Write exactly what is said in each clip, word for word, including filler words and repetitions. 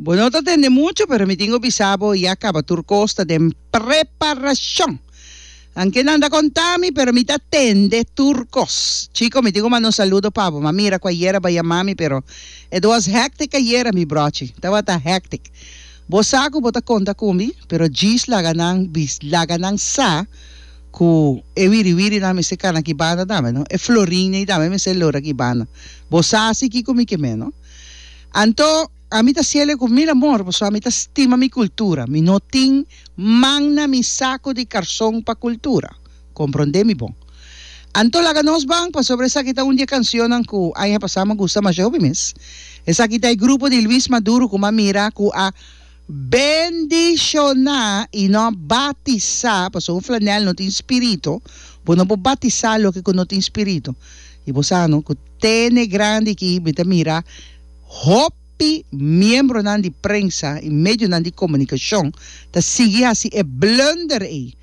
Bo no ta tende mucho, pero mi tin ku bisa bo ya kaba tur kos ta den preparashon. Anke nan ta konta mi, pero mi ta tende tur kos. Chiko, mi tin ku manda un saludo pa bo. M'a mira ku ayera b'a yama mi, pero it was hectic ayera, mi brochi. Tabata hectic. Bo sa ku bo ta konta ku mi, pero djis laga nan bis, laga nan sa ku e wiriwirinan mester kana ki banda tambe, no? E florinnan tambe mester lora ki banda. Bo sa si kiko mi ke men, no? Anto, ami ta hasiele ku mil amor, pasobra ami ta stima mi kultura. Mi no tin man na mi saku di karson pa kultura. Komprondé mi bon. Anto laga nos ban pasobra esaki ta un di e kansionnan ku aña pasá mi a gusta masha hopi mes. Esaki ta e grupo di Luis Maduro ku mi a mira ku a bendishoná i no a batisá, pasobra un flanèl no tin spiritu, bo no por batisá loke ku no tin spiritu. I bo sa no ku tene grandi aki mi ta mira hopi miembronan di prensa i medionan di komunikashon ta sigui hasi e blunder ei.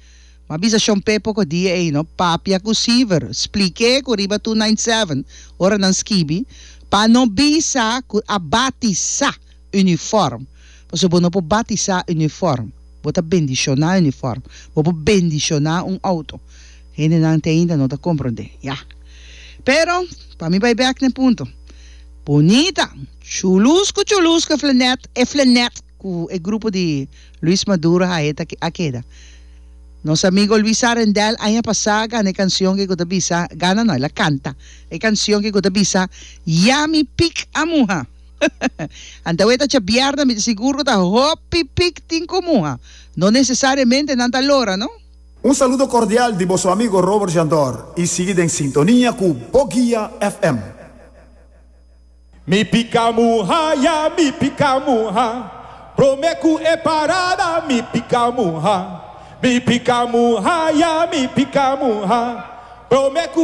M'a bisa Shon Pe poko dia ei no, papia ku Siever, splik'é ku riba two nine seven ora nan skibi pa no bisa ku a batisá uniform, pasobra bo no por batisá uniform, bo ta bendishoná uniform, bo por bendishoná un outo. Hendenan te ainda no ta komprondé, ya. Pero, pa mi bai bèk na e punto. Bunita! Chulusku chulusku e flanèt, e flanèt ku e grupo di Luis Maduro hae ta a keda. Nos amigo Luis Arendel aña pasá a gana e kansion ke ku ta bisa, gana no, el a kanta e kansion ke ku ta bisa Ya mi pik a muha. Anto awe ta djabièrnè, mi ta sigur ku ta hopi pik tin ku muha. No nesesariamente nan ta lora, no. Un saludo cordial di boso amigo Robert Jandor y sigui den sintonia cu Boguia F M. Mi pica muha, ya mi pica muha. Prome cu e parada mi pica muha. Mi pica muha, ya mi pica muha. Prome cu